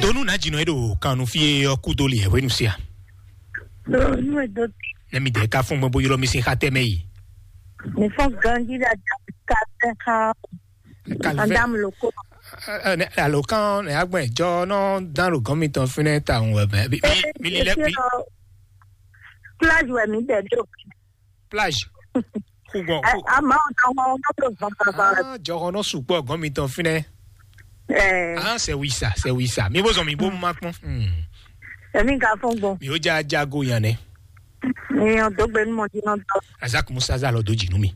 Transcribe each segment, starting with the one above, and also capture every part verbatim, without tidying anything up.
Donu na dzi nɔ e ɖo kan nu fie ɔ́ kú dó li ɛ hwenu sia. Donu e do. Ne mi dɛ ka fún gbɔn bó ylɔ mi sin xa tɛ mɛ yi. Mi fɔn ganji ɖe adzɔ ka tɛ xa. Kalvɛ. Adam loko. Alo kan ne agbɛn jɔ nɔ dan lo gɔmi tɔn finɛ ta ŋu ɛbɛ. Mi mi li lɛ mi. Plage wɛ mi dɛ do. Plage. Kugɔ. Ama o tɔn wọn n'o to zɔn papa. Ah, jɔhɔn nɔ sukpɔ gɔmi tɔn finɛ. Eh. Ah, c'est oui ça, c'est oui ça. Mi bo zɔn mi bo ma kpɔn. Hmm. Èmi ka fún gbɔn. Mi o ja jago yan nɛ. Èèyàn tó gbé ní mọ̀jú náà tọ́. Azak Musa za lọ do jinu mi.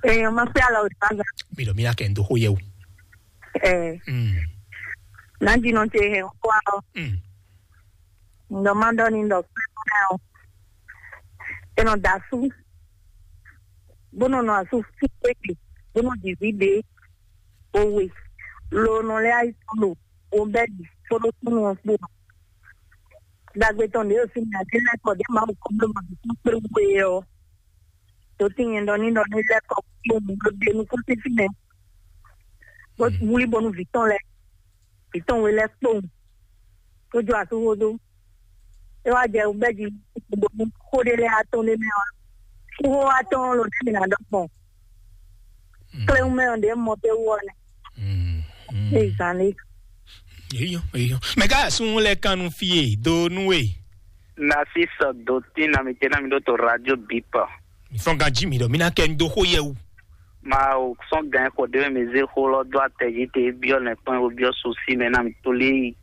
Èèyàn máa pé àlọ́ òdìbàgà. Mi lọ mi na kɛ n do xó yẹ o. Ẹ̀. Hmm. Náà jìnnà ṣe ẹ̀ kó àlọ́. Hmm. Ǹdọ̀ máa dọ́ ní ǹdọ̀ pé kó náà o. Ẹ nọ da sú. Bó nɔ nɔ asú fún pépè. Bó nɔ dìbí dé. Òwe. Lo nɔ lé àìsàn lò. O bɛ di. Fó ló tún wọn kpó. Dagbe tɔn ɖě o sí mi àti lɛkɔ ɖě ma wò kɔn bló ma fi kún kpé wú e ɔ. Tó tín nyɛ ɖɔ ní ɖɔ ní lɛkɔ kpó mu ɖo ɖe nukún títí mɛ. Bó wlí bɔnu vǐ tɔn lɛ. Vǐ tɔn we lɛ kpó mu. Tó jó asú xó dó. É wá jɛ bɛ́ jí bɔnu xó ɖé lɛ́ɛ atɔn ɖé mɛ ɔ́. Xó atɔn ló dé mi ná ɖɔ gbɔn. Kléwún mɛ ɔ́ ɖě mɔ pé wú ɔ́ nɛ. Ezan lé. Eyo, eyo. Mɛ ká sun lɛ kan nu fie do nu e. Nasi sɔ do tin na mi te na mi ɖo to radio bipa. Mi fɔn ganji mi ɖɔ mi na kɛ n do xó yɛ wu. Ma o sɔn gan xɔ de mi ze xó lɔ do atɛ ji te biɔ lɛ kpɔn o biɔ susi mɛ na mi to lé yi.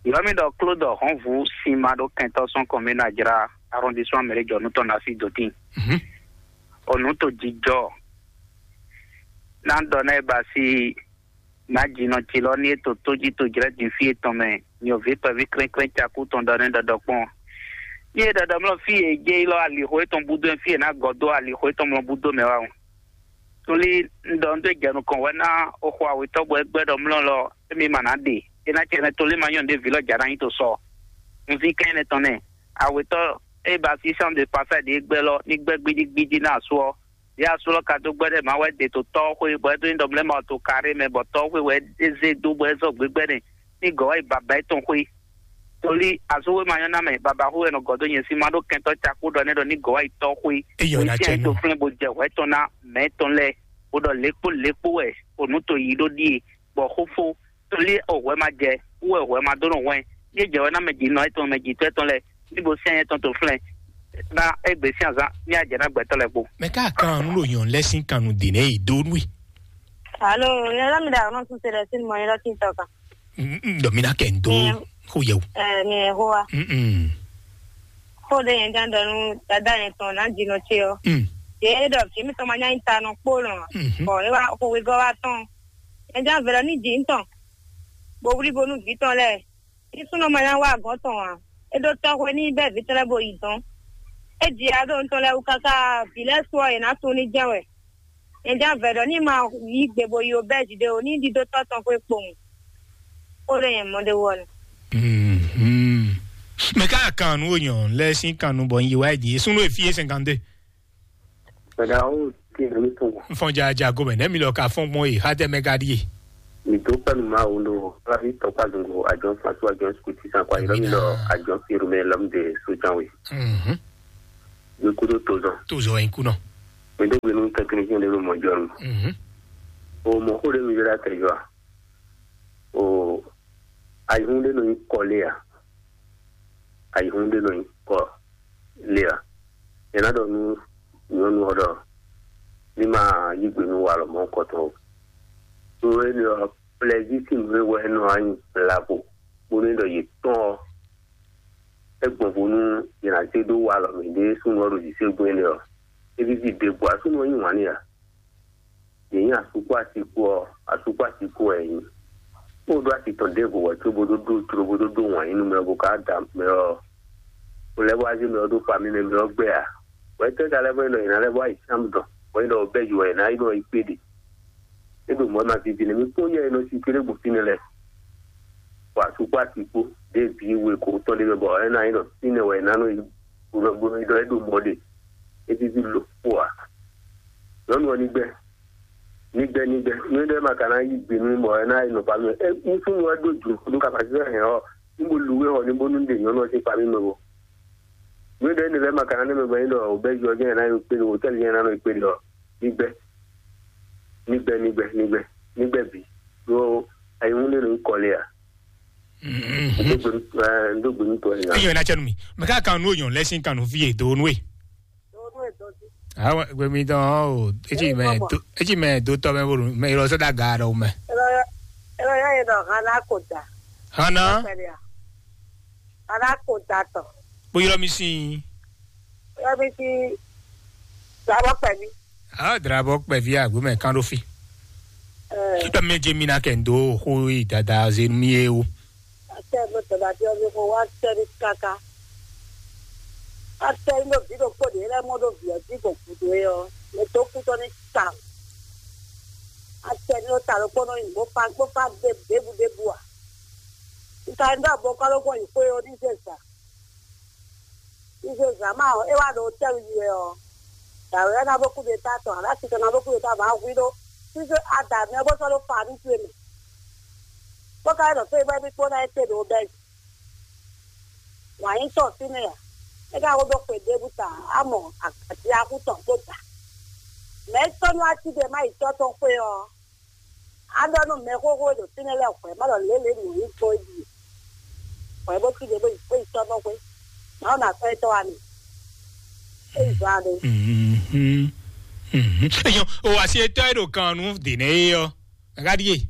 Yɔ mi ɖɔ klo dɔ hɔn vu si ma ɖo kɛntɔ sɔn kɔn mi na jra arrondissement mɛ jɔ nu tɔn nasi do tin. Mhm. O nu to jijɔ. Na dɔ na e ba si. Nǎjínɔ ce lɔ ní é to tójí tojlɛ́ din fí etɔn mɛ, nyɔ̌ví kpɛví klɛ́nklɛ́n cakú tɔn ɖɔ nɛ́ ɖɔɖɔ kpɔ́n. Ní é ɖɔɖɔ mlɔ́ fí e jɛ yi lɔ alixo étɔn búdó fí e ná gɔ́ dó alixo étɔn mlɔ́ búdó mɛ wá o. Tóli un ɖɔ un ɖó jɛ nukɔn wɛ ná o xo awětɔ́ bɔ é gbɛ́ ɖɔ mlɔ́ lɔ émí ma ná ɖe. É ná cɛ nɛ́ tóli ma nyɔ́ ɖěvi lɔ jà ná nyi to sɔ. Un ví kɛn énɛ́ tɔn nɛ́. Awětɔ́ é ba sísán de pasá ɖě gbɛ́ lɔ ní gbɛ́ gbídígbídí ná asú ɔ́. Yá asú lɔ ka dó gbɛ́ ɖɛ má wɛ ɖe to tɔ́ xwé bɔ é dó nyí ɖɔ mlɛ́ ma to kaɖé mɛ bɔ tɔ́ xwé wɛ é zé dó bɔ é zɔ gbégbɛ́ nɛ ní gɔ̌ wá yi baba étɔn xwé. Tóli asú xwé ma nyɔ́ ná mɛ baba xwé wɛ nɔ gɔ̌ dó nyɛ sí má ɖó kɛntɔ́ cakú ɖɔ nɛ́ ɖɔ ní gɔ̌ wá yi tɔ́ xwé. Eyɔ na cɛ nú. Tó flɛ́ bó jɛ hwɛ tɔn ná mɛ tɔn lɛ́ɛ bó ɖɔ lékpó lékpó wɛ o nǔ to yí ɖó ɖíe bɔ xó fó. Tóli o hwɛ ma jɛ wú wɛ hwɛ ma dó nɔ hwɛn. Ní é jɛ wɛ ná mɛ jǐ nɔ étɔn mɛ jǐ tɔ́ étɔn lɛ́ɛ ní bo sɛ́n étɔn to flɛ́ ná égbé sín azán ní ajɛ ná gbɛtɔ́ lɛ́ɛ kpó. Mɛ ká kan nú ɖo nyɔ̌nu lɛ́ɛ sín kan nú dě nɛ́ yi dó nú i. Alo, yẹn lɔ mi da ọ̀nà tún ṣe rẹ̀ sínú mọ̀ yẹn lọ́kì tọ̀kan. Ɖɔ mi ná kɛ ń dó Ẹ. Xó yẹ o. Ẹ, mi ẹ̀ hó wa. Mm-mm. Xó ɖé yẹn gán dɔnu dada yẹn tɔn ná dzi nɔ tse ɔ. Mm. Yé ɖɔ fi mi tɔn ma nya nyi ta nɔ kpó nɔ. Mhm. Bɔ é wá xó wegɔ́ wá tɔn. Yẹn gán vɛlɛ ní dzi ŋutɔn. Bo wlí bo nú vǐ tɔn lɛ. Ní súnnu ma nya wá agɔ̌n tɔn ǎ. É ɖó tɔ́xwé ní bɛ́ vǐ tɔn lɛ́ɛ bo yi dɔn. É ji aɖó ŋutɔn lɛ́ɛ wú káká vǐ lɛ́ɛ su ɔ́, yě ná tunwun ní jɛ́n wɛ. Nyɛ jɛ́n vɛ̌ ɖɔ ní ma yí gbe bo yi obɛ́zi ɖé o, ní ɖidótɔ́ tɔn xwé kpowun. Xó ɖé nyɛ mɔ ɖé wɔ nɛ. Mhm. Mɛ ká kan nú onyɔ lɛ sín kan nú bɔ ń yi wá ɛ dǐ. Súnnu e fí é cinquante-deux. Mɛɖe awo ti nɔ mi tɔn. N fɔn ja ja gomɛ nɛ mi lɔ ka fɔn gbɔn yi xa tɛ mɛ ka ɖie. Mi dó pɛnu ma wo lo, Flavi tɔkpa zungo, ajɔn fasu, ajɔn skuti san kwa, yɔrɔ mi lɔ, ajɔn firme lɔm de sojan we. Mhm. Mi kudo tozɔn. Tozɔn yi kunɔ. Mi dó gbenu technicien de lo mɔ jɔnu. Mhm. O mɔ xó ɖé mi jɔ ɖe atɛ jɔ a? O ayihun ɖé nɔ nyi kɔ lé a? Ayihun ɖé nɔ nyi kɔ lé a? Yě ná ɖɔ nú nyɔ̌nu ɔ́ ɖɔ ní ma yí gbe nú walɔ mɔ̌hunkɔtɔn o. Ɖó énɛ́ ɔ́, plɛzísi nǔ e wɛ é nɔ wá nyi blago bónú é ɖɔ yě tɔ́n ɔ́, é gbɔn vo nú yě ná zé ɖó walɔ mɛ ɖě súnnu ɔ́ ɖo zǐségbɔ́n énɛ́ ɔ́, é víví ɖěbǔ ǎ, súnnu ɔ́ yí wǎn n'i ǎ. Yě nyí asú kpó asi kpó ɔ́, asú kpó asi kpó wɛ yě nyí. Bó ɖó asi tɔn ɖěvo wɛ có bó ɖó ɖó jló bó ɖó ɖó wǎn yí nú mɛ ɔ́, bó ka da mɛ ɔ́, bó lɛ́ bó wá zé mɛ ɔ́ ɖó famí mɛ mɛ ɔ́ gbɛ ǎ. Wɛ tɛ́ ka lɛ́ bɔ é nɔ yě ná lɛ́ bó wá yi sínú dɔn, bɔ é nɔ bɛ́ yi wɛ yě ná yi nɔ yi kpé ɖe. É ɖo mɔ̌ ma vivi nɛ mì kpɔ́n yɛ e nɔ si kéré gbɔn fínɛ́ lɛ́ɛ. Bɔ asú kpó asi kpó ɖěe bǐ we kǒ tɔn ɖé mɛ bɔ é ná nyí ɖɔ fínɛ́ wɛ é ná nɔ yi bó nɔ bó nɔ yi ɖɔ é ɖo mɔ̌ ɖe. É víví lo kpó ǎ. Nyɔ̌nu ɔ́ ní gbɛ́. Nigbɛ nigbɛ, nú ɖé ma ka ná yí gbe nú bɔ é ná yi nɔ pa mɛ. É, nú súnnu wɛ ɖó jǔ nú ka fa sísɛ hɛn ɔ́, nú bo lu wé xɔ ní bónú ɖe nyɔ̌nu ɔ́ sín pa mí mɛ bo. Nú ɖé ne lɛ́ ma ka ná nɛ mɛ gbɛ́ ɖɔ o bɛ́ jɔ jɛ́n ná yi kpé ɖo hotɛ́li jɛ́n ná nɔ yi kpé ɖɔ nigbɛ, nigbɛ, nigbɛ, nigbɛ, nigbɛ bǐ. Ɖó ayihún ɖé nɔ nyí kɔ lé a? Ɖó gbe, ɛ, ɖó gbe nú tɔ ɛ. Eyɔ ná tsɛ nú mi. Mɛ ká kan nú oyɔn lɛ sín kan nú fí e do nú e. Awa gbemi dɔn o. Etsi mɛ do, etsi mɛ do tɔ mɛ bolo mɛ yɔrɔ sɛ da ga ɖɔ mɛ. Ela ya ela ya ye dɔ hana ko da. Hana. Ela ko da tɔ. Bo yɔrɔ mi sin. Ela mi si. Dabɔ pɛmi. Ah, drabɔ kpɛvi agbo mɛ kan ɖo fi. Ɛ. Tɔ mɛ je mi na kɛ ndo xo yi dada ze mi ye o. Atɛ nɔ tɛnɛ ati ɔ́ mi xo wá tɛ ní káká. Atɛ ní ɖo vǐ ɖokpó ɖě lɛ́ɛ mɔ ɖó vǐ ɔ́ jí gbɔn gǔdo é ɔ́, mɛ dó kú tɔ́ ní ta. Atɛ ní ɖo ta ɖokpó nɔ nyi bó fa bó fa ɖe ɖěbǔ ɖěbǔ ǎ. Un ka ní ɖɔ bó kɔ́ ló gbɔn yi xwé ɔ́ ní zɛ zǎ. Izo zǎn ma ɔ́, é wá ɖo hotɛ́lu yi wɛ ɔ́, dǎwe ɔ́ ná bó kú ɖe ta tɔn, alá titɔ ná bó kú ɖe ta vǎ hwí ɖó. Sísé ada mɛ bó sɔ́ ɖó fa ní towe mɛ. Bó ka ɖɔ fé bɔ émí kpó ná é kpé ɖo bɛ́. Wǎn nyí tɔn fínɛ́ ǎ. É ka ko ɖó xwe ɖěbǔ ta, á mɔ agǎjí axú tɔn kpó ta. Mɛ̌ tɔ́ nú atíɖe má yi tɔ́ tɔn xwé ɔ́, a ɖɔ nú mɛ xóxó e ɖo fínɛ́ lɛ́ɛ hwɛ̌ ma ɖɔ lě lě nǔ nyí gbɔn é ɖíe. Hwɛ̌ bó cí ɖě bó yi bó yi tɔ́ nɔ xwé. Mawu ná sɔ́ étɔ́ wá mi. É yi zɔn aɖe. Mhm. Mhm. Eyɔn, o asi etɔ́ e ɖo kan nú dě nɛ é ɔ́, a ka ɖíe.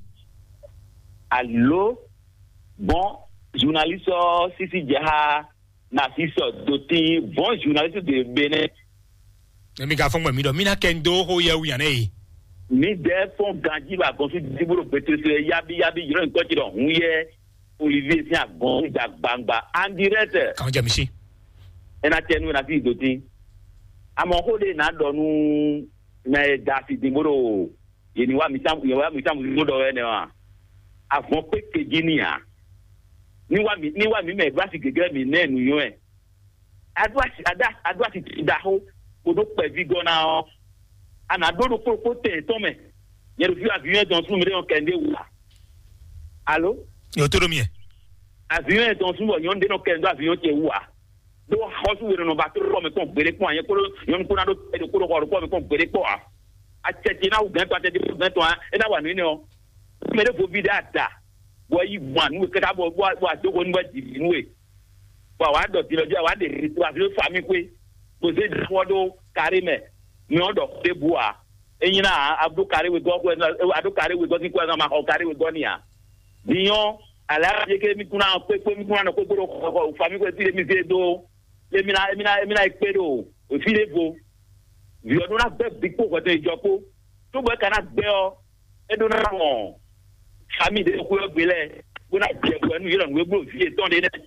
Alo, bon, journaliste ɔ́ sísí jɛ xá Narcisse Dotin, bon journaliste de Bénin. Emi ka fɔn gbɛ mi ɖɔ mi na kɛ ndo xo yɛ wu yan nɛ yi. Mi dɛ fɔn ganji ba gɔn fi dibo ɖo gbɛtɛsɛ yabi yabi yɔrɔ nkɔ ti ɖɔ hun yɛ Olivier sin agɔn da gbangba en direct. Kan jɛ mi si. Ena tɛ nu na fi Dotin. Amɔ xo de na ɖɔ nu na e da fi din bo ɖo ye ni wa mi sam ye wa mi sam lu ɖɔ wɛ nɛ wa. Avɔn pe keji ni a. Ni wa mi ni wa mi mɛ gba si gege mi nɛ nu yɔ ɛ. Aɖó asi aɖó asi ɖaxó kpoɖó kpɛví gɔ́ ná ɔ́, a nǎ ɖó ɖokpó ɖokpó tɛn yětɔn mɛ. Nyɛ ɖo fí avion yɛn dɔn súnnu ɖé nɔ kɛ ɖé wú a? Alo? Yǒ tó ɖo mì. Avion yɛn dɔn súnnu bɔ nyɔ̌nu ɖé nɔ kɛ ɖó avion ce wú a? Ɖó xɔsú we nɔ ba tó kpɔ mɛ kpɔn gbeɖé kpɔn a? Nyɛ kpódó nyɔ̌nu kpó ná ɖó tɛ ɖokpó ɖo xɔ ɖokpó mɛ kpɔn gbeɖé kpɔn a? Acɛ ce ná wú gɛ̌n tɔn, acɛ ce ná wú gɛ̌n tɔn a? É ná wa nǔ énɛ́ ɔ́. Mɛ ɖěvo ví ɖé ada, bɔ é yi gbɔn nǔ káká bɔ bɔ adógo nú bɔ jǐ nú we. Bɔ àwa ɖɔ din ɔ́ jí àwa ɖe wa fi fa mì xwé, bó zé ɖaxɔ ɖó kárí mɛ, mɛ ɔ́ ɖɔ xó ɖěbǔ ǎ. É nyí ná a ɖó kárí wegɔ́ xwé, a ɖó kárí wegɔ́ sín xwé, a ma xɔ kárí wegɔ́ n'i ǎ. Din ɔ́, alǎ yě ké mì kún ná kpé kpé mì kún ná nɔ kpékpé ɖo xɔ fa mì xwé fí ɖé mì zé dó. Émí ná émí ná émí ná yi kpé ɖo fí ɖěvo. Vǐ ɔ́ ɖó ná gbɛ́ vǐ kpó hwɛtɛn yi jɔ kpó. Tó bɔ é ka ná gbɛ́ ɔ́, é ɖó ná wɔn fami ɖé xwé ɔ́ gbe lɛ́ɛ, bó ná jɛ hwɛ nú yě ɖɔ nǔ e bló vǐ yětɔn ɖé nɛ́.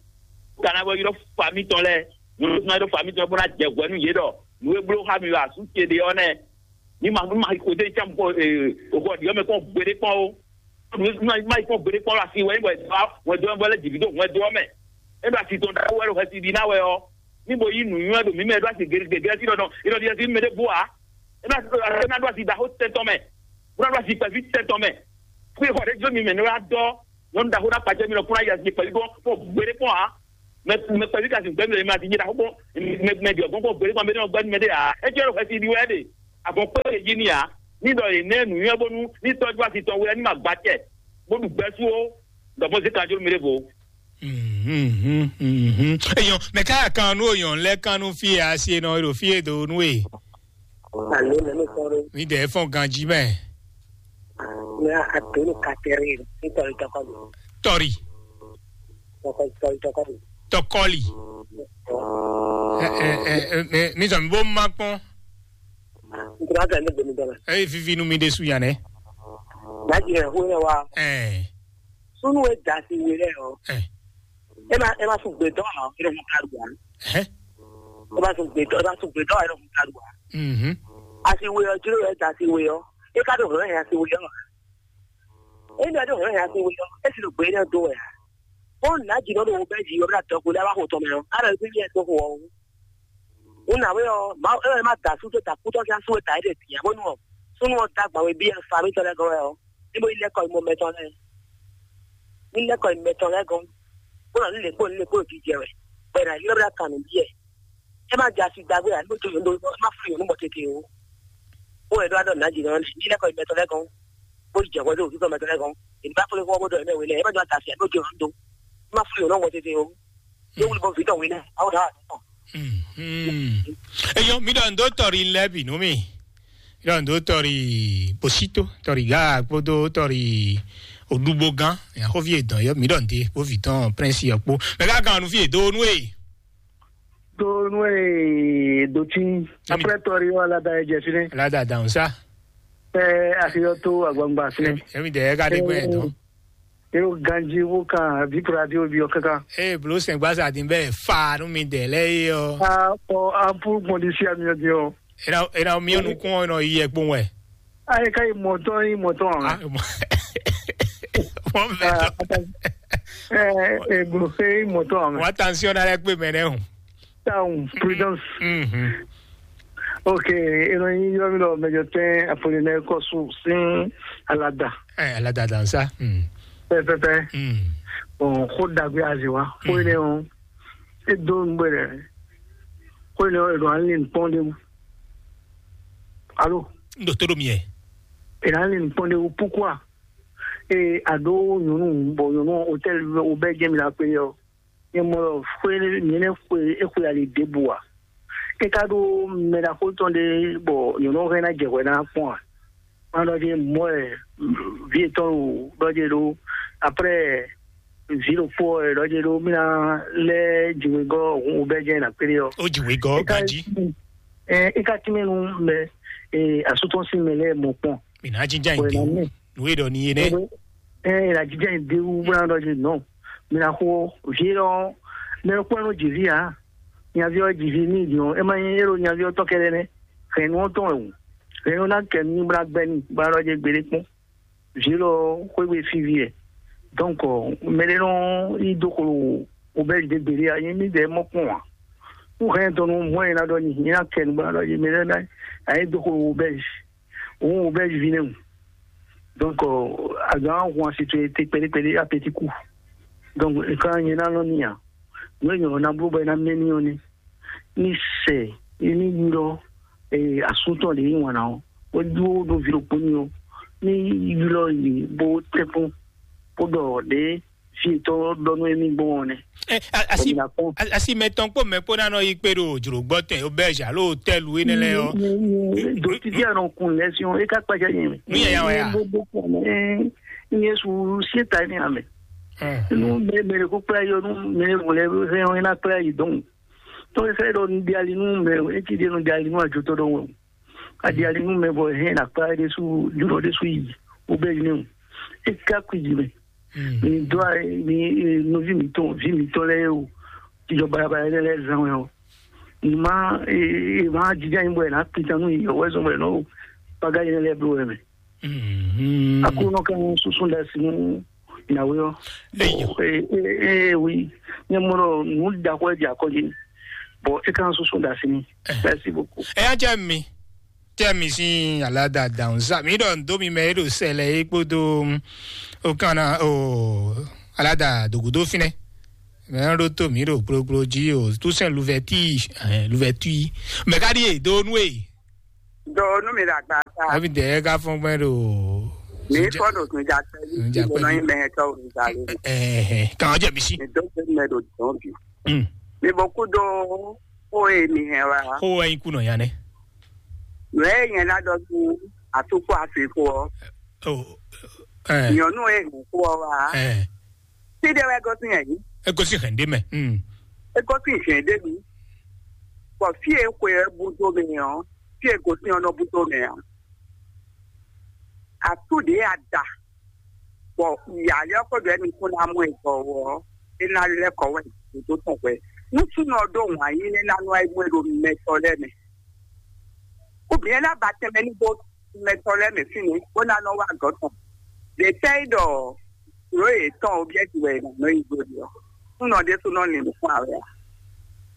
Bó ka ná bɔ ylɔ́ fami tɔn lɛ́ɛ, nyɔ̌nu ná ylɔ́ fami tɔn lɛ́ɛ bó ná jɛ hwɛ nú yě ɖɔ nǔ e bló xá mi ɖo asú ce ɖé ɔ́ nɛ́. Ní ma ní ma xo dé cán kɔ xɔ ɖiɔ mɛ kpɔn gbeɖé kpɔn ó. Ní ma ní ma yi kpɔn gbeɖé kpɔn asi wɛ ní bɔ wɛ dó wɛ lɛ jǐví dó wɛ dó ɔ́ mɛ. É ɖo asi tɔn ɖaxó wɛ ɖo xɛsi ɖi ná wɛ ɔ́. Ní bo yí nǔnywɛ́ ɖo mǐ mɛ ɖó asi gěgé gěgé sí ɖɔ nɔ é nɔ ɖi asi mɛ ɖé bú ǎ. É ná é ná ɖó asi ɖaxó tɛn tɔn mɛ. Bó ná ɖó asi kpɛví tɛn tɔn mɛ. Fú xɔ ɖé jó mi mɛ ní wá dɔ nyɔ̌nu ɖaxó ná kpacɛ mi nɔ kún ná yi asi kpɛví kpɔn kpɔn gbeɖé kpɔn ǎ. Mɛ mɛ kpɛví ka sin gbɛmí lɛ ma ti jɛ ɖaxó kpɔn mɛ mɛ diɔ gbɔn kpɔn gbeɖé kpɔn mɛ ní ɔgbɛ mɛ ɖé ǎ. É jẹ́ ɖo xɛsi ɖi wɛ ɖe. Àgbọn kpé ɖe jí ni ǎ. Ní ɖɔ yě nɛ nǔnywɛ́ bónú ní tɔjú asi tɔn wɛ ní ma gba tɛ. Bó ɖu gbɛ́ sú ó. Ɖɔ mɔ zé kanjó mi ɖé vo. Mhm, mhm. Eyɔn, mɛ ká kan nú oyɔn lɛ kan nú fí asi nɔ ɖo fí e do nú e. Alo, nɛnɛ sɔrɔ. Mi dɛ fɔn ganji mɛ. Ne a donu katɛri ni tɔri tɔkɔli. Tɔri. Tɔkɔli tɔkɔli tɔkɔli. Tɔkɔli. Ɛ ɛ ɛ ɛ mi sɔ mi bó ma kpɔn. N tura ka ne gbemi dɔla. Ɛ vivi nu mi de su yan nɛ. Daji ɛ hu ne wa. Ɛ. Sunu e da si we lɛ o. Ɛ. E ma e ma sun gbe dɔn a, e dɔn ka lu a. Ɛ. E ma sun gbe dɔn, e ma sun gbe dɔn a, e dɔn ka lu a. Mhm. A si we ɔ, jiro e da si we ɔ. E ka do hɔn ya si we ɔ. E dɔ do hɔn ya si we ɔ. E si do gbe ne do ya. O na ji dɔ do o bɛ ji o bɛ na dɔ ko da wa ko tɔ mɛ ɔ. A dɔ bi yɛ to ko ɔ. O na we ɔ, ma e ma da su to ta ku tɔ sia su e da e de ti ya bonu ɔ. Súnnu ɔ́ dó agban wé bí afa mǐtɔn lɛ́ɛ gɔ́n wɛ ɔ́, ní bó yi lɛ́ kɔ yi mɔ mɛtɔn lɛ́ɛ. Ní lɛ́ kɔ yi mɛtɔn lɛ́ɛ gɔ́n, bó nɔ ní lě kpó ní lě kpó jijɛ wɛ, bɔ è nǎ ylɔ́ bó ná kan nǔ byɔ́ ɛ. É má jɛ asi dagbe ǎ, ní bó jó yǒ má fún yǒ nú mɔ tete o. Bó wɛ ɖó adɔ nǎ jǐ nɔ ní lɛ́ kɔ yi mɛtɔn lɛ́ɛ gɔ́n, bó yi jɛ hwɛ dó wǔtú tɔn mɛtɔn lɛ́ɛ gɔ́n. È ní bá fó lé fɔ́n bó ɖɔ yě mɛ we lɛ́ɛ, é má jɔ ata asi ǎ, ní bó jó yǒ nú dó. É má fún yǒ nú mɔ tete o. Yóò wuli bɔ vǐ tɔn wínɛ, awo ɖa wà tɔn. Mhm. Eyɔ, mi ɖɔ ndo tɔri lɛ bi nú mi. Mi ɖɔ ndo tɔri bosito, tɔri ga kpódó tɔri odugbo gán. Yaxɔvi edɔn yɔ, mi ɖɔ nde bó vi tɔn prince yɔ kpó. Mɛ ka gan nu fi edo nu e. Do nu e do tí. Après tɔri wà ládàá ẹ jẹ fínɛ. Ládàá dàn sá. Ẹ àfihàn tó àgbàǹgbà fínẹ. Èmi dẹ̀ ẹ́ ká dé gbẹ́ ẹ̀ dán. Ero ganji wo kan vi kura di obi o kankan. Ee, blo sɛn gbasa din bɛ fa nu mi dɛ lɛ ye ɔ. A ɔ ampu gbɔn di si ami ɔ di ɔ. Ena ena mi ɔ nukun ɔ nɔ yi ɛkpo wɛ. A yi ka yi mɔtɔn yi mɔtɔn a. Mɔ bɛ tɔ. Ɛ ɛ glo fe yi mɔtɔn a. Wa tension na lɛ kpe mɛ nɛ o. Town prudence. Mhm. Ok, eno yi yɔ mi lɔ mɛjɔ tɛn Apollinaire Kɔsu sin alada. Ɛ alada dansa. Mm. Pɛpɛpɛ. Mm. Bon, xó dagbe azi wa. Xó yi ne o. E do n bɛ dɛ. Xó yi ne o, e do an lin pɔn de mu. Alo. N do to do mi yɛ. E na lin pɔn de mu, pourquoi? E a do nyɔnu, bon, nyɔnu hôtel o bɛ jɛ mi la pe yɔ. Nyɛ mɔ ɖɔ xwé nyɛ nɛ xwe e xwe ali ɖěbǔ ǎ. É ka ɖó mɛ ɖaxó tɔn ɖé bɔ nyɔ̌nu ɔ́ hɛn ná jɛ hwɛ ná kpɔ́n ǎ. Má ɖɔ jí mɔ̌ wɛ vǐ yětɔn ɖo ɖɔ jí ɖó après vǐ ɖokpó wɛ ɖɔ jí ɖó mí ná lɛ́ jǐwegɔ́ hun wobɛ́ jɛ́n ná kplé ɔ́. Ó jǐwegɔ́ ganjí. Ɛ é ka tínmɛ nú mɛ asú tɔn sín mɛ lɛ́ɛ mɔ kpɔ́n. Mǐ ná jínjá nyi dě wú. Nǔ e ɖɔ n'i é nɛ́. Ɛ ɛ la jijɛ de wu bla ɖɔ je nɔ. Mina xo vie lɔ mɛ kpɔn no jivi a. Nyavi ɔ jivi ni di ɔ, ema nyi ero nyavi ɔ tɔ kɛɖɛ nɛ. Hɛn nu ɔ tɔn ɛ wu. Hɛn nu na kɛ nu bla gbɛ ni bla ɖɔ je gbede kpɔn. Vie lɔ xwegbe fi vie. Donc mɛ ɖe nɔ yi do xolo o bɛ de gbede a, nyi mi de mɔ kpɔn a. Nu hɛn tɔn nu mɔ yina ɖɔ nyi yina kɛ nu bla ɖɔ je mɛ ɖe na ayi do xolo o bɛ. Òun ò bɛ́ viví nɛ́ wǔ. Donc, azǎn hun asi towe te kpɛɖékpɛɖé apetiku. Donc, nkan nyɛ ná nɔ n'i ǎ. Nǔ e nyɔ̌ ná bló bɔ é ná mɛ n'i ɔ́ nɛ́. Ní sɛ ní ylɔ́ asú tɔn ɖě yí wǎn ná ɔ́, bó ɖó ɖó vǐ ɖokpó n'i ɔ́, ní ylɔ́ yě bó tɛ́nkpɔ́n bó ɖɔ ɖě fí yětɔn ɖɔ nú émí gbɔn ɔ́ nɛ́. Ɛ, a- asi Bɔ mi ná kpɔ́n. A- asi mɛtɔn kpó mɛ kpó ná nɔ yi kpé ɖo jlǒgbɔ́ tɛn, auberge alo hôtel ée nɛ́ lɛ́ɛ ɔ́. Dotidi anɔ kun lɛ́ sí ɔ́, é ká kpájá nyɛ mɛ. Nú yɛ ya wɛ a? Bó bó kpɔ́n mɛ. Ní Yésu sí ta ní amɛ. Nú mɛ mɛ ɖe kó kplá yɔ nú mɛ mɔ lɛ hɛn ɔ́, é ná kplá yi dɔn. Tɔn é fẹ́ ɖɔ nu ɖe ali nú mɛ, é cí ɖe nu ɖe ali nú ajotɔ́ ɖɔhun. Adi ali nú mɛ bɔ hɛn akpa ɖésú jurɔ ɖésú yi wo bɛ yi nɛ́ o. É ká kú yi mɛ. Mi dó a mi nɔví mǐtɔn ví mǐtɔn lɛ́ɛ o. Jijɔ balabala lɛ́ɛ lɛ́ɛ zan wɛ o. Numa e ma jija nyi bɔ ɛ na pintan nú yi wɛ zɔn bɔ ɛ nɔ o. Paga yi lɛ́ɛ blo wɛ mɛ. Aklúnɔ kan susu ɖe asi nú Nyawe ɔ́. Eyo. Ee, ee, ee, oui. Nyɛ mɔ ɖɔ nǔ ɖaxó e ɖi akɔji. Bon, é kan susu ɖe asi n'i. Merci beaucoup. Ɛ yá jẹ́ mi. Tẹ́ mi sín aládàá dàrún sá. Mi ɖɔ ndo mi mɛ e ɖo sɛlɛ e kpódó o kan na o aládàá dògúdó fínɛ. Mɛ ɖó tó mi ɖo kplokplo jí o. Tout sɛn luvɛtí, luvɛtí. Mɛ ka ɖi e do nú e. Do nú mi ɖo agba ta. Abi dɛ ka fɔn gbɛ ɖo. Mi fɔ ɖo sunjakpɛ. Sunjakpɛ. Nɔ yin mɛ tɔ sunjakpɛ. Ɛhɛn, kan jɛ mi si. Mi do se mɛ ɖo dɔn bi. Mm. Mi bɔ kú do ko e mi hɛn wa. Ko wɛ yin kunɔ ya nɛ. Nɔ e yɛn na dɔ su atukɔ afi ko. O. Ɛ. Nyɔnu e hɛn ko wa. Ɛ. Ti ɖe wɛ gosín yɛ yìí. E gosín hɛn ɖe mɛ. Mm. E gosín hɛn ɖe mi. Bɔ fie xwe ɛ bu do mɛ ɔ, fie gosín ɔ nɔ bu do mɛ ɔ. Atu ɖe ada. Bɔ yali ɔkɔ ɖɔ ɛmi kún ná mú ɛ gbɔ wɔ, é ná lɛ́ kɔ wɛ dòdó tɔn hwɛ. Nú súnɔ ɖó wǎn yí nɛ́ ná nɔ ayé mú ɛ ɖo mɛtɔ lɛ́ɛ mɛ. Ou bien ná ba tɛnmɛ ní bó mɛtɔ lɛ́ɛ mɛ fínɛ́ bó ná nɔ wá gɔ̌ tɔn. Ɖě tɛ́ é ɖɔ nǔ yětɔn obyɛ́ti wɛ è nǎ nɔ yi dó ɖe ɔ́, súnɔ ɖésú nɔ lin nǔkún awɛ ǎ.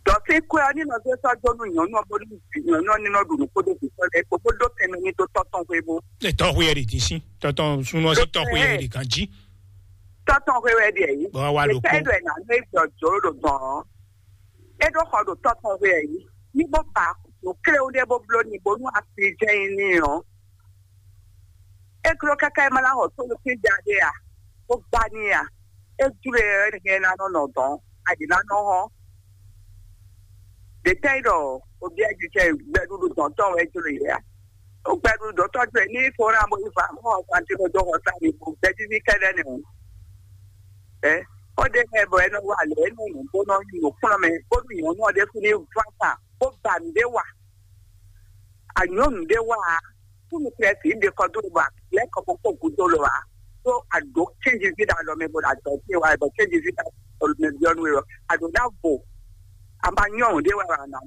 Dɔ Ɔsín kwɛ ɔ́ ní nɔ zé sɔ́ dó nú nyɔ̌nu ɔ́, bónú nyɔ̌nu ɔ́ ní nɔ ɖu nǔ kpódó vǐ tɔn lɛ́ɛ kpó, bó dó tɛnmɛ ní dó tɔ́ tɔn hwévú. Lɛ tɔn xwe yɛ ɖi dín sín, tɔn tɔn súnú ɔ́ sín tɔn xwe yɛ ɖi gán jí. Tɔ́ tɔn xwe wɛ ɖi ɛ yí. Bɔ wá ɖo kpó. Tɛ́ ɖɔ ɛ nǎ nú é gbɔ jǒ ɖo dɔn ɔ́. É ɖó xɔ ɖo tɔ́ tɔn xwe ɛ yí. Ní bó ba nǔ kléwú ɖé bó bló ní bónú asi jɛ nyi ní ɔ́. É glɔ́ káká é má ná xɔ tónú sín ja ɖé a? Bó gbá ní a? É jló e ɔ́, é ná nɔ nɔ dɔn, aɖǐ ná nɔ hɔn. Ɖě tɛ́ nyí ɖɔ obyɛ́ jijɛ gbɛɖuɖu dɔn tɔn wɛ jló e a? Gbɛɖuɖu dɔn tɔn jló e ní fó ná bó yi fa mɔ santi ko dó xɔ sa ní bó gbɛjíví kɛ́ɖɛ́ nɛ o. Ɛ xɔ ɖé mɛ bɔ é nɔ wa lě é nɔ nǔ bó nɔ nyi nǔkplɔ́n mɛ bónú nyɔ̌nu ɔ́ ɖésú ní ván sa bó ba nǔ ɖé wa. Anyɔ̌nu ɖé wá a, kúmi Klɛ́si ɖe kɔ dó wa lɛ́ kɔ kókó gúdo lo a, ɖó a ɖǒ cɛ́nji ví ɖo alɔ mɛ bó ɖo adɔ̌ ce wa bɔ cɛ́nji ví ɖo alɔ mɛ byɔ́ nú we ɔ́, a ɖǒ ná vo. A ma nyɔ́ ɖé wɛ a nǎ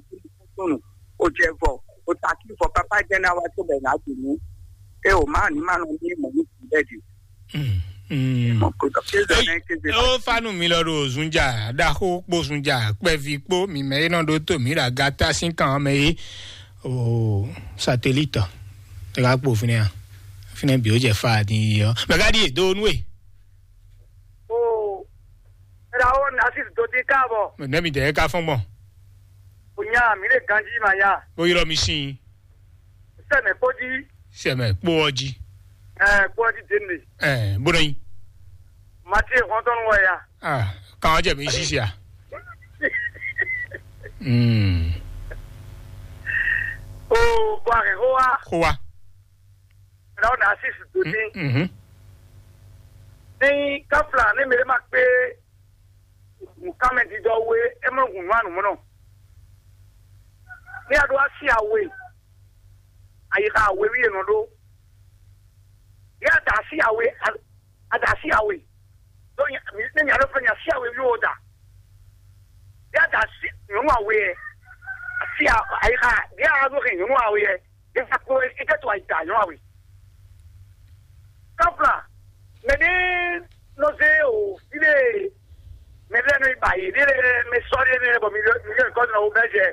dó nú o jɛ vɔ, o ta kí vɔ kápá jẹ́ ná wá tó bɛ nǎ dì nú. É o má ní má nɔ ní mɔ̌ ní bɛ́ dì. Mm, mm. Mɔ kó dɔ kéze Ei, nɛ kéze ó fanu mi lɔ ɖo zunja ɖaxó kpó zunja kpɛvi kpó mi mɛ é nɔ ɖó tó mi ɖo agata sín kan mɛ é o satelite ɛ ka kpo fínɛ a fínɛ bi ó jɛ fa ni yi ɔ mɛ ka ɖi e do nu e. O, era o na si do ti ka bɔ. Mɛ mi dɛ ka fɔn gbɔn. O nya mi le ganji ma ya. Ó ylɔ mi sin. Sɛmɛ kpó jí. Sɛmɛ kpó ɔ jí. Ɛ kpó ɔ jí dé ne. Ɛ bó nɔ nyi. Mati hɔntɔn wɔ ya. Ah, kan ɔ jɛ mi sisi a. Mm. O bɔ a kɛ xó wa. Xó wa. Era o na si do ti. Mhm. Ní káfla ní mi lè má pé nǹkan mɛ dídɔ wé ẹ mọ gùn nù ànùmọ́nà. Ní a ɖó asi awe, àyíká awe wí è nɔ ɖó. Ní a da asi awe, a da asi awe. Ɖó nya mi ní nya ɖó fún nya asi awe wí o da. Ní a da asi nyɔ̌nu awe yɛ, asi a- àyíká ní a ɖó hɛn nyɔ̌nu awe yɛ, ní a kó é tɛ to àyíká nyɔ̌nu awe. Kɔfla, mɛ ɖé nɔ zé o fide mɛ ɖé nɔ yi ba yi ɖé lɛ mɛ sɔ ɖé nɛ bɔ mi lɛ mi lɛ kɔ nɔ wo bɛ jɛ.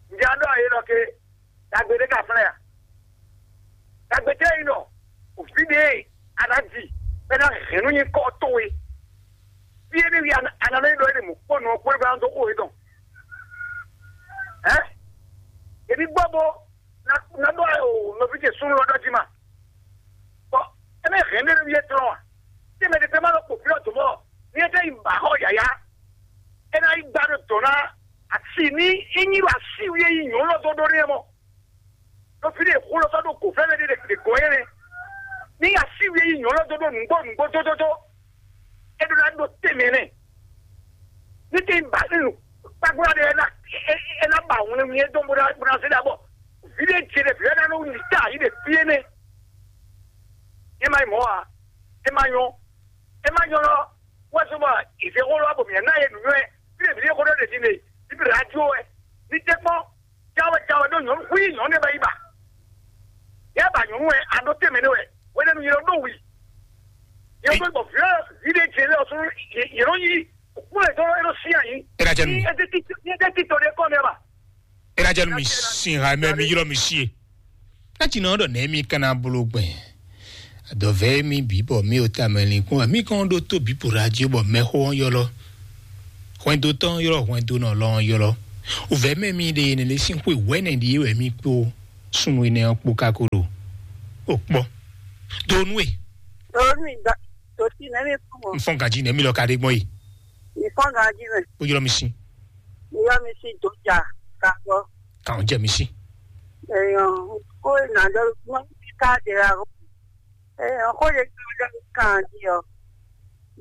Ǹjẹ́ a ɖɔ ayé lɔ ke dagbe ɖé ka flɛ a? Dagbe tɛ yi nɔ o fide a nɔ di bɛ na hɛn nu nyi kɔ to we. Fi e ɖe wi a nɔ yi ɖɔ e ɖe mɔ kpɔ nɔ kpɔ e ba nɔ dó xo e dɔn. Ɛ? Ebi gbɔ bo na na ɖɔ o nɔvi ce sunu lɔ ɖɔ ji ma. Bɔn eme hɛn ɖe ɖo wiye tlɔn a? Te mɛ ɖe ma nɔ kpo fí ɔ́ dǒ mɔ ní e tɛ yi ba xɔ yǎyá. É ná yi gba ɖo dɔ̌ ná asi ní é nyí ɖo asi wi e yi nyɔ̌nu ɔ́ dó ɖó n'i é mɔ. Ɖo fí ɖe xó lɔ sɔ́ ɖo gǒ fɛ́nɛ ɖé ɖe gɔ̌ é nɛ́. Ní asi wi e yi nyɔ̌nu ɔ́ dó ɖó nǔgbó nǔgbó dódódó. É ɖó ná ɖó tɛnmɛ nɛ́. Ní te ba ní nu kpákplá ɖé ɛ ná ɛ ná ba wlɛnwlɛn dɔn bó ná bó ná zé ɖa bɔ vǐ ɖé ce ɖe vǐ ɔ́ ná nɔ wuli ta yi ɖe fí énɛ́. É má nyí mɔ̌ ǎ. É má nyɔ́. É má nyɔ́ lɔ wɛ sɔ bɔ ìzé xó lɔ bɔ mǐ ná yɛ nǔnywɛ́ fí ɖe vǐ ɖé xó ɖɔ ɖe din ɖe bíbí radio wɛ. Ní tɛ́ kpɔ́n jáwé jáwé ɖó nyɔ̌nu xwí nyɔ̌nu ɖé bɛ yi ba. Yɛ ba nyɔ̌nu wɛ a ɖó tɛnmɛ nɛ wɛ hwenɛ́nu yɛ ɖó wi. Yɛ ɖó gbɔ vǐ vǐ ɖé jɛ lɛ ɔsún yɛ ɖó yí kúlẹ̀ tɔn é ɖó sí àyín. Ena jɛ nu mi. Ní ɛ títí ní ɛ títí tɔn ɖé kọ́ ní ɛ ba. Ena jɛ nu mi sin ha mɛ mi ylɔ mi sie. Ná tsi nɔ ɖɔ nɛ̌ mi ka ná bló gbɛn. Adɔ̌vɛ́ mi bǐ bɔ mi ò tamɛ linkpɔ́n wɛ mi kɔn ɖó tó bǐ po ɖo ají bɔ mɛxó ɔ́ ylɔ́. Hwɛndo tɔn ylɔ́ hwɛndo nɔ lɔ ɔ́ ylɔ́. Wǔvɛ́ mɛ mi ɖe nɛɖé sín xwe wɛ̌nɛ ɖíe wɛ mi kpó súnnu énɛ́ ɔ́ kpó káko ɖo. O kpɔ́. Do nú e. Lórí mi gbà tó sí nẹ́mí fún wọn. N fɔn ganji nɛ̌ mi lɔ ka ɖe gbɔn yi. Ìfọ́n ganji mẹ́. Ó ylɔ́ mi sí. Ìyá mi sì tó jà kàkọ́. Kàn jẹ́ mi sí. Èèyàn kó ìnàdọ́ wọn ti ká dèrè àrùn. Èèyàn kó lè gbé ọjọ́ kan di ọ.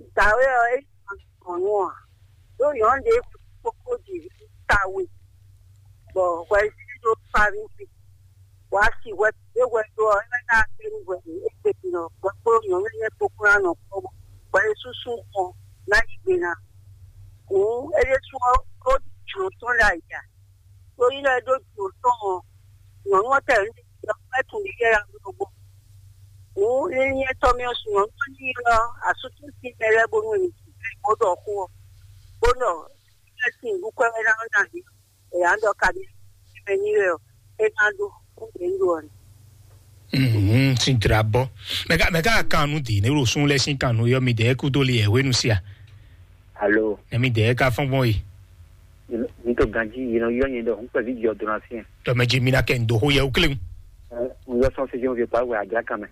Ìgbàwé ọ èyí kan kàn nù ọ. Yóò yàn án lè kókó di kàwé. Bọ̀ wẹ́ẹ́ sí ló parí sí. Wá sí wɛ é wɛ ɖó ɔ́, é ná kpé nú hwɛ é gbe din ɔ́, hwɛ kpó nyɔ̌nu énɛ́ kpó kún ná nɔ kpɔ́ bɔ é súsú xɔ ná yí gbe ná. Hǔn é ɖésú ɔ́, ó ɖi jlǒ tɔn ɖo ayǐ ǎ. Ɖó nyí lɛ́ɛ ɖó jlǒ tɔn ɔ́, nyɔ̌nu ɔ́ tɛ ní ɖɔ é tunwun ɖi yɛ ya ɖó gbɔn. Hǔn é nyí ɛtɔ́ mɛ ɔ́ su nyɔ̌nu ɔ́ ní ylɔ́ asútúsi mɛ lɛ́ɛ bónú è nǐ bó ɖɔ xó ɔ́, bó ɖɔ Sin ɖu kwɛ́ wɛ ná ná ɖi. È yǎ ɖɔ kaɖi mɛ ní wɛ ɔ, é ná ɖu kú ɖě ɖu ɔ. Mhm, sin dra bɔ. Mɛ ka mɛ ka kan nu di ne ɖo sun lɛ sin kan nu yɔ mi dɛ kudo li yɛ hwenu sia. Alo, Ne mi dɛ ka fɔn gbɔn yi. N to ganji yi nɔ yɔ nyɛ ɖɔ n kpɛ vi jɔ dona fiɛ. Dɔ mɛ ji mi na kɛ ndo ho yɛ ukle. N yɔ sɔn se jɔn vi pa wɛ adra kan mɛ.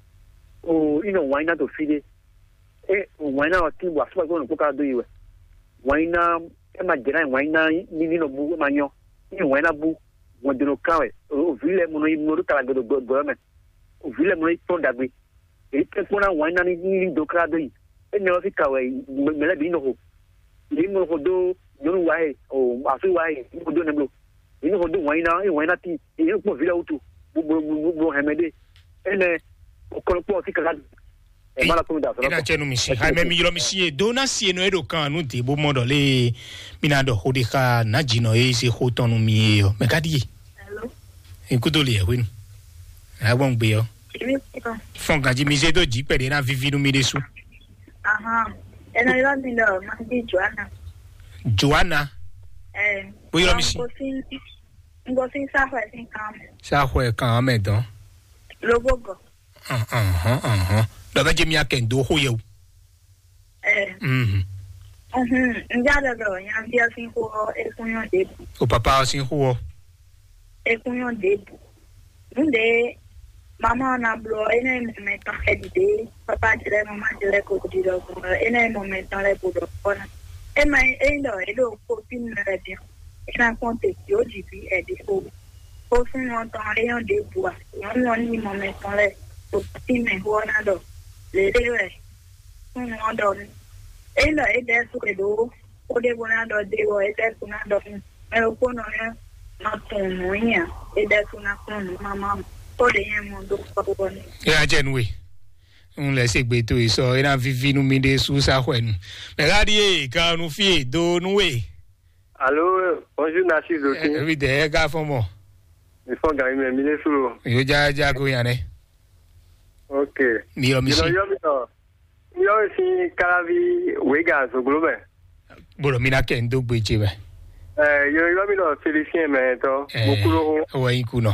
O, inɔ wine na to fi de. E wine na ɔ tin bo asɔgba gbɔn ko ka do yi wɛ. Wine na e ma jɛ na wine na ni ni nɔ bu e ma nyɔ. Ni wine na bu wọn do nɔ kan wɛ. O vi lɛ mo nɔ yi mo ɖo kala gbɔdɔ gbɔdɔ mɛ. O vi lɛ mo nɔ yi tɔn dagbe. Èyí tẹ́ kpɔ́n ná wǎn ná ní ní dó klá dó yi. Énɛ́ ɔ́ fí ka wɛ mɛ lɛ́ɛ bǐ nɔ xo. Yě nɔ xo dó nyɔ̌nu wa e, o asú wa e, ní xo dó nɛbló. Yě nɔ xo dó wǎn ná, é wǎn ná tíin, yě nɔ kpɔ́n vǐ lɛ́ɛ wútu, bó bó bó bó hɛn mɛ ɖé. Énɛ́, o kɔn kpɔ́n fí ka ká. Ɛ má la kpɔ́n mi da sɔ́. Ina cɛ nu mi si. Hai mɛ mi ylɔ mi si ye do na si ye nɔ e ɖo kan nu de bó mɔ ɖɔ lé. Mi na ɖɔ xo ɖe xa na dzi nɔ e se xo tɔn nu mi ye yɔ. Mɛ ka ɖi ye. Hello. Ikudo le yɛ hwenu. Agbɔn gbe yɔ. Èmi kúrò. Fɔn ganji mi zé dó jí pɛ̀lú iná víví nú mi ɖésú. Ahan. Ena yɔ mi lɔ, ma di Joana. Joana. Eh. Bó yɔ mi si. Ngo sin, ngo sin sa hwɛ sin kan. Sa hwɛ kan mɛ dɔn. Lobo gɔ. Ahɔn, ahɔn. Lɔ bɛ jɛ mi akɛ ndo xo yɛ o. Eh. Mhm. Mhm. N já lɔ lɔ, yan bia sin xo, e kun yɔ de. O papa sin xo. Ekúnyɔ́ ɖěbǔ. Nǔɖé mamá ɔ́ ná bló ɔ́, é ná nyí mɔ mɛtɔn xɛɖiɖe, pápá ce lɛ́ɛ, mamá ce lɛ́ɛ ko ɖi ɖɔhun ɔ́, é ná nyí mɔ mɛtɔn lɛ́ɛ ko ɖɔ kpɔ́ ná. É ma nyí ényí ɖɔ é ɖo kpófínú lɛ́ɛ bǐ ɔ́, é ná kpɔ́n te jǒ jǐ ví ɛɖí xo. Xó súnnu ɔ́ tɔn ɔ́, é nyɔ́ ɖěbǔ ǎ. Nyɔ̌nu ɔ́ ní nyí mɔ mɛtɔn lɛ́ɛ, ɖo tínmɛ xó ɔ́ ná ɖɔ lělé wɛ súnnu ɔ́ ɖɔ nú. Ényí ɖɔ é ɖɛ́ sú è ɖǒ xó ɖé bó ná ɖɔ dó é wɔ, é ɖɛ́ sú ná ɖɔ nú mɛ ɖokpónɔ lɛ́ɛ nɔ tunwun nǔ nyi ǎ, é ɖɛ́ sú ná kplɔ́n nǔ mamá mɔ, xó ɖě nyɛ mɔ dó kpɔ́kpɔ́ n'i. É ná jɛ nú we. Un lɛ se gbe to yi sɔ, é ná víví nú mi ɖé sú sá xwɛ nu. Mɛ ká ɖíe kan nu fí e do nú we. Alo, bonjour, Narcisse Dokin. Evi dɛ ɛ ká fɔn mɔ. Mi fɔn gan mi mɛ, mi lé suro. Yo ja ja ko yan nɛ. Ok. Mi yɔ mi si. Yɔ mi tɔ. Mi yɔ mi si kalavi wega zoglo mɛ. Bolo mi na kɛ n do gbe ce mɛ. Eh, yɔ yɔ mi nɔ Félicien mɛ tɔ. Eh, mo kulo ho. Wɔ yi kunɔ.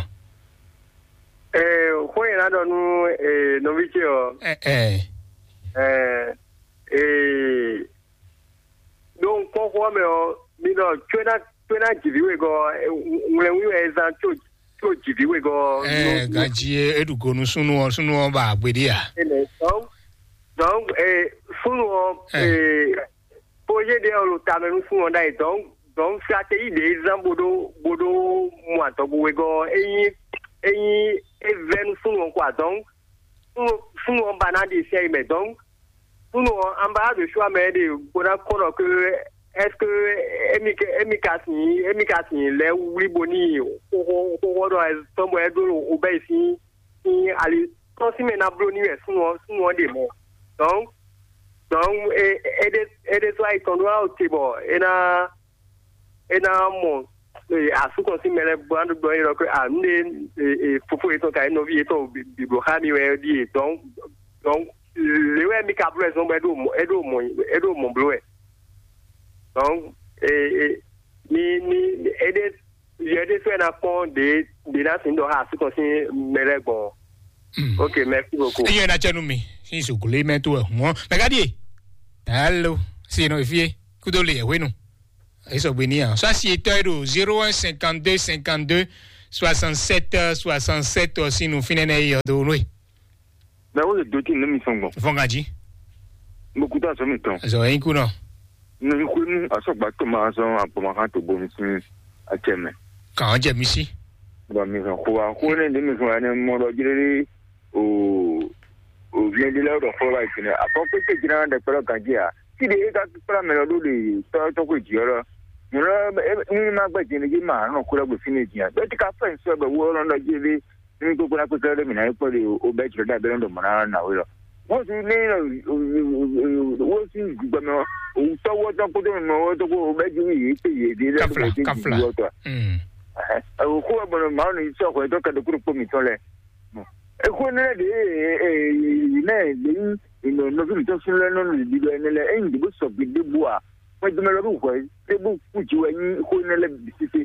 Eh, xó yẹn na dɔ nu eh, nɔvi ce ɔ. Eh, eh. Eh, eh, Donc kpɔ́n xó ɔ́ mɛ ɔ́, mi ɖɔ có ná có ná jǐví wegɔ́ ɔ́, ŋlɛ́nwí wɛ è zán có có jǐví wegɔ́ ɔ́. Ɛɛ, ganjí e ɖu go nú súnnu ɔ́, súnnu ɔ́ ba agbe ɖé a? Énɛ́. Donc donc eh, súnnu ɔ́, eh, projet ɖé ɔ́ ɖo ta mɛ nú súnnu ɔ́ ɖ'ayǐ. Donc donc stratégie ɖě e zán bó ɖó bó ɖó mɔ adɔgo wegɔ́ ɔ́, é nyí é nyí é vɛ́ nú súnnu ɔ́ quoi. Donc súnnu súnnu ɔ́ ba ná ɖe sɛ́ yi mɛ. Donc Súnnu ɔ́, an ba ɖo sua mɛ ɖe bó ná kɔn ɖɔ que est-ce que émi émi ka sin émi ka sin lɛ́ wlí bo ní xoxo xoxo ɖɔ tɔn bɔ é ɖó o bɛ sín sín ali tɔn sín mɛ ná bló ní wɛ súnnu ɔ́ súnnu ɔ́ ɖe mɔ. Donc donc é é ɖe é ɖe sɔ́ ayi tɔn ɖó awo te bɔ é ná é ná mɔ asú tɔn sín mɛ lɛ́ɛ bó ná ɖɔ é ɖɔ que a nǔ ɖe fofó yětɔn ka nyí nɔví yětɔn bǐbló xá mi wɛ ɖíe. Donc donc lě wɛ mi ka bló wɛ zɔn bɔ é ɖo mɔ é ɖo mɔ é ɖo mɔ bló wɛ. Donc e e mi mi é ɖe yɛ ɖé fɛ́ ná kpɔ́n ɖě ɖě ná sin ɖɔ xá asú tɔn sín mɛ lɛ́ɛ gbɔn. Ok, merci beaucoup. Eyɛn na cɛ nu mi sin soglo mɛ to wɛ hɔn mɛ ka die. Hello, si no efie kudo le hwenu. Esɔgbe ni a sɔ asi etɔ e ɖo zéro un cinquante-deux cinquante-deux soixante-sept soixante-sept ɔ sín nu fínɛ́ nɛ yɔ do nue. Mɛ wo le do tin ne mi sɔn gbɔn. Fɔngaji. Mo kuta sɔ mi tɔn. Zɔ yin kunɔ. Ne mi kwe nu asɔgba to ma sɔn abɔmakan to bo mi sin acɛ mɛ. Kàn jẹ mi sí. Bɔn mi sɔn ko wa ko ne de mi sɔn ya ne mɔ dɔ jere o o viɛn de lɛ dɔ fɔlɔ ba yi sinɛ afɔ kpekpe jina dɛ kpɛlɛ ganji a ti de e ka kpla mɛ lɔ do de tɔ tɔ ko ji ɔlɔ. Mo lɔ e ni ma gbɛ jɛnɛ ji ma nɔ ko lɛ gbe fi ne ji a bɛ ti ka fɛ nsɔ bɛ wo lɔ dɔ jere. Ní gbogbo ná kpékpé ɖé mǐ ná yi kpɔ́ ɖe o bɛ́ jlɔ́ ɖé abẹ́rẹ́ ɖo mɔ̌ ná ná wé lɔ. Wọ́n ti ní wọ́n ti gbẹmẹ òwúntọ́ wọ́tọ́ kótó nínú wọ́tọ́ kó o bɛ́ ju yìí pé yìí dé lẹ́nu Kafla, kó o ti kafla. Ju wọ́tọ́. Mm. Òkú ọgbọ̀n màá ní sọ ọ̀kọ̀ ẹ̀tọ́ kẹ́dọ̀ kúrò pọ̀ mí tán lẹ̀. Èkó ní lẹ́dí náà lè ní ìnà nọ́fíìlì tó sún lẹ́nu nínú ìdílé ẹni lẹ ẹ̀yìn ìdìbò sọ̀gbìn débò à wọ́n ti mẹ́lẹ́ bí wọ́n Te bó kú ji wɛ nyí xó énɛ́ lɛ́ɛ bǐ sésé.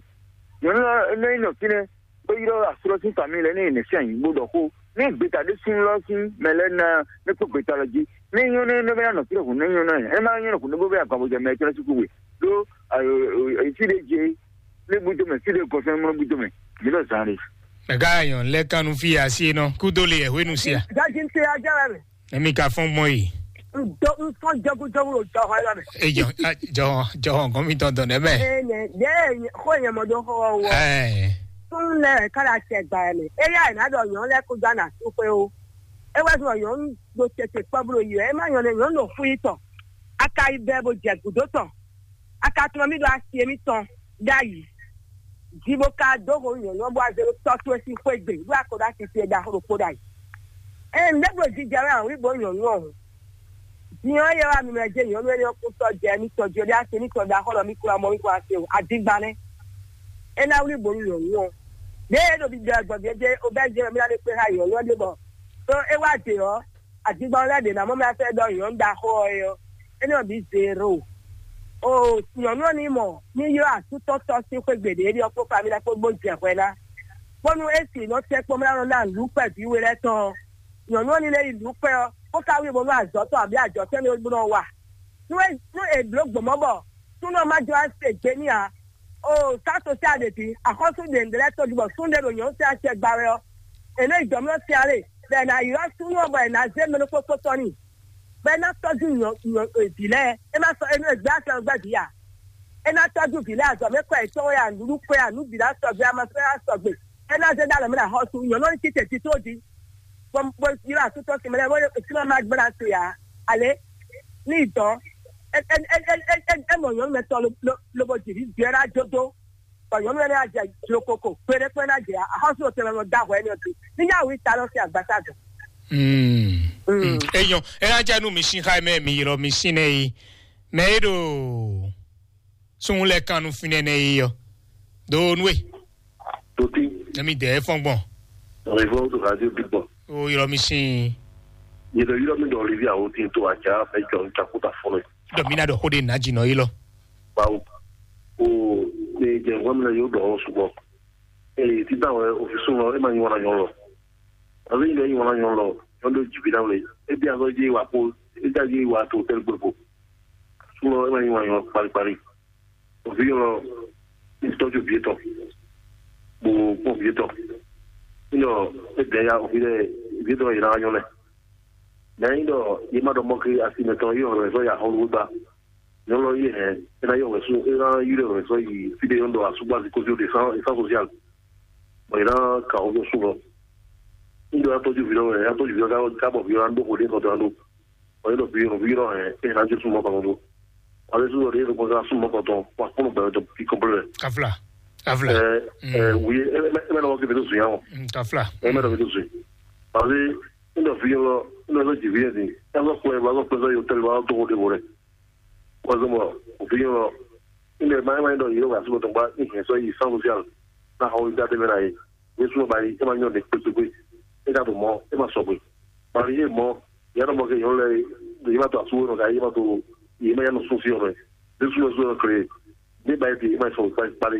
Nyɔ̌nu ɔ́ nɔ nyi nɔ fínɛ́, bó ylɔ́ aslɔ́ sín famille lɛ́ɛ ní yě nɛ́ sín ayǐ bó ɖɔ xó. Ní gbeta ɖé sín lɔ́ sín mɛ lɛ́ɛ ná, ní kpó gbeta lɔ jí. Ní nyɔ́ nɛ́ nɔ bɛ ná nɔ fínɛ́ hǔn, ní nyɔ́ nɔ ɛ má nyɔ́ nɔ hǔn, ní bó bɛ agba bó jɛ mɛ tɔn sín kú we. Ɖó fí ɖé jí, ní búdó mɛ, fí ɖé gɔfɛn mɔ búdó mɛ. Mǐ ɖɔ zán ɖé. Mɛgá nyɔ̌nu lɛ́ɛ kan nú fí asi nɔ kúdó le yɛ hwenu sia. Gaji ń tẹ ajá rẹ̀. Èmi ka fɔn gbɔn yìí. Ŋdɔ ŋfɔn jɔgújɔgú ɖo jɔxɔ yɔ mɛ. Ejɔ, jɔxɔ, jɔxɔ gɔn mi tɔn dɔn ɖɛ mɛ. Ee, nyɛ, yɛ, xó nyɛ mɔ dó xɔ wɔ. Ɛɛ. Tún lɛ kára tɛ gba yɛ mɛ. Eya yɛ ná ɖɔ nyɔ̌nu lɛ́ɛ kó dó ana tó xwé o. É wá zɔn nyɔ̌nu ɖo tɛtɛ kpɔ́ bó ɖo yi wɛ. É má nyɔ̌nu, nyɔ̌nu ɖo xú yi tɔn. A ka yi bɛ bó jɛ gǔdo tɔn. A ka tlɔ́n mì ɖo asi émítɔn ɖ'ayǐ. Ji bó ka dó xo nyɔ̌nu ɔ́ bó wá zé ɖó tɔ́ towe sín xwé gbe, ɖó a ko ɖó asi towe ɖaxó ɖokpó ɖ'ayǐ. Ée nǔɖé bló jijɛ wɛ a wlí bǒ nyɔ̌nu ɔ́ hǔn. Din ɔ́, yɛ wá mi mɛ jɛ nyɔ̌nu énɛ́ ɔ́ kún sɔ́ jɛ émítɔn jí, ɔ́ ɖó asi émítɔn ɖaxó ɖɔ mì kplɔ́n amɔ mì kplɔ́n asi o, adingba nɛ́. É ná wlí bǒ nú nyɔ̌nu ɔ́. Ɖěe é ɖo ɖiɖɔ ɛ gbɔn gěgé, obɛ́ jɛ mì ná ɖe kpé xá nyɔ̌nu ɔ́ ɖé bɔ ɖó é wá ɖe ɔ́, Adigbɔn lɛ́ɛ ɖě ná mɔ mɛ afɛ ɖɔ nyɔ̌nu ɖaxó ɔ́ é ɔ́, énɛ́ ɔ́ bǐ zero. O nyɔ̌nu ɔ́ ní mɔ ní ylɔ́ asútɔ́tɔ́ sín xwé gbe ɖě ɖi ɔ́ kpó famí lɛ́ɛ kpó bó jɛ hwɛ ná, bónú é sì nɔ tɛ́ kpɔ́n bó ná nɔ ná nǔɖuɖu kpɛví we lɛ́ɛ tɔn ɔ́, nyɔ̌nu ɔ́ ní lɛ́ yi nǔɖuɖu kpɛ́ ɔ́, bó ka wí bónú azɔ̌ tɔn abǐ ajɔ̌ tɛ́ nú é bó nɔ wa. Nú é nú è blǒ gbɔ̌n mɔ̌ bɔ súnnu ɔ́ má jló ná se gbe n'i ǎ, o sá sosial ɖě jí, axɔ́sú ɖě ɖě lɛ́ɛ tɔjú bɔ súnnu ɖé ɖo nyɔ̌nu tɛn acɛ gba wɛ ɔ́, è nɔ yi jɔ̌mlɔ́ tɛn ǎ lé, bɔ è nǎ ylɔ́ súnnu ɔ́ bɔ è nǎ zé mɛ ɖokpó kpó tɔ́ n'i, bɔ é ná tɔ́jú nyɔ nyɔ vǐ lɛ́ɛ. É má sɔ́ é nɔ gbé afɛ gbɛ́ vǐ ǎ. É ná tɔ́jú vǐ lɛ́ɛ azɔ̌ mɛ kɔ yětɔn wɛ ǎ, nǔɖuɖu kɔ ǎ, nǔ bǐ ná sɔgbe, ama sɔ́ ná sɔgbe. É ná zé ɖó alɔ mɛ ná xɔ́sú nyɔ̌nu ɔ́ ní títɛ tító jí. Bó bó ylɔ́ asútɔ́ sin mɛ lɛ́ɛ bó é sí ma ma gbéra se ǎ. Alě ní yi dɔ̌. É é é é é é mɔ nyɔ̌nu mɛ tɔn lo lo lobo jǐ vǐ jɛ ná jó dó. Bɔ nyɔ̌nu énɛ́ ná jɛ jlokoko, kpeɖé kpé ná jɛ axɔ́sú ɖo tɛnmɛ nɔ da hwɛ énɛ́ ɔ́ dó. Ní yá wǐ ta lɔ sín agbasa dɔn. Mm. Mm. Eyɔn, ena jɛ nu mi sin xa mɛ mi ylɔ mi sin nɛ yi. Mɛ e ɖo sun lɛ kan nu finɛ nɛ yi yɔ. Do nu e. Toti. Ne mi dɛ fɔn gbɔn. Revɔ to radio bi gbɔn. O ylɔ mi sin. Yɛ dɔ ylɔ mi dɔ Olivia o tin to aja bɛ jɔ ntakuta fɔlɔ. Dɔ mi na dɔ xo de na jinɔ yi lɔ. Bawo. O ne jɛ ŋgɔ mi na yo dɔ sugbɔ. Ee, títà wɛ òfin súnmọ́ ẹ máa yín wọn náà yọ lọ. Àbí ilẹ̀ yín wọn náà yọ lọ, yọ ló jì bí dáwọlé. Ebi azọ yé wa kó, ebi azọ yé wa tó tẹ́lẹ̀ gbogbo. Súnmọ́ ẹ máa yín wọn yọ paríparí. Òfin yọ lọ, ní tọ́jú bí tọ̀. Gbogbo pọ̀ bí tọ̀. Nínú ẹ dẹ̀ ya òfin dẹ̀ bí tọ̀ yìí náà yọ lẹ̀. Lẹ́yìn dọ̀ yìí má dọ̀ mọ́ kí asimẹ̀tọ̀ yìí ọ̀rọ̀ ẹ̀ sọ yà hàn ló gbà. Nyɔnu ɔ́ yi hɛn, é ná yɔ wɛ sú, é ná yi ɖe wɛ sɔ yi fí ɖé nyɔnu ɖɔ asúgbó asi kó dó ɖe sán, sán sosial. Bɔ é ná ka wɔ sú lɔ. Ŋɖɔ ya tɔjú vǐ lɔ wɛ, ya tɔjú vǐ lɔ ká ká bɔ vǐ lɔ ná ɖó xo ɖé kɔtɔ ná ɖó. Bɔ é ɖɔ vǐ lɔ vǐ lɔ hɛn, é ná jó súnmọ́ kɔtɔ ɖó. Wale sú lɔ ɖé ló kɔtɔ súnmọ́ kɔtɔ, wa kpɔnɔ gbɛ tɔ bí kɔnplɛ. Kafla. Kafla. Ɛ ɛ wòye ɛ ɛ ɛ mɛ lɔwɔ kébé tó sùn yà wɔ. Kafla. Ɛ mɛ lɔwɔ kébé tó sùn. Parce que ŋɖɔ vǐ lɔ ŋɖɔ sɔ jì vǐ lɛ din, ɛ sɔ kplɛ, wa sɔ kplɛ sɔ yɔ tɛlɛ wa tó xo ɖé xo rɛ. Wazɔmɔ, òfin yɔ, ilẹ̀ máa máa ń dọ̀ yìí ló wà sí ọ̀tún bá ìhìn sọ yìí sáwọn sí àlọ́. Náà àwọn ìdá tẹ́lẹ̀ náà yìí, ní súnmọ́ báyìí, ẹ máa ń yàn ní pépépé. Ẹ ká tó mọ́, ẹ máa sọ pé. Màrí yé mọ́, ìyá náà mọ́ kí yàn lẹ́, yìí máa tó àsúwò náà, yìí máa tó, yìí máa yàn sún sí ọ̀rọ̀ ẹ̀. Ní súnmọ́ sí ọ̀rọ̀ kiri, ní báyìí ti, ẹ máa sọ ìparí.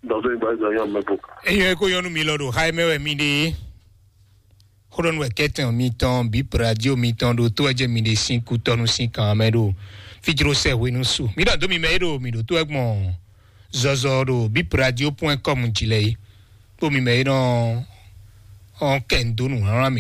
Dɔ̀tún ìgbà ìgbà yàn mẹ́kù. Eyɔn eko yɔnu mi lɔ ɖo xa mɛ wɛ mi ɖe. Xóɖɔnu wɛ kɛtɛn mitɔn bí pradio mitɔn ɖo tó ɛjɛ mi ɖe sín kutɔnu sín kan mɛ ɖo fijro sɛ hwenu su. Mi ɖɔ dó mi mɛ é ɖo mi ɖo tó ɛgbɔn zɔzɔ ɖo bí pradio point com jí lɛ yi. Kpó mi mɛ é nɔ ɔn kɛ ndo nǔ hlan mi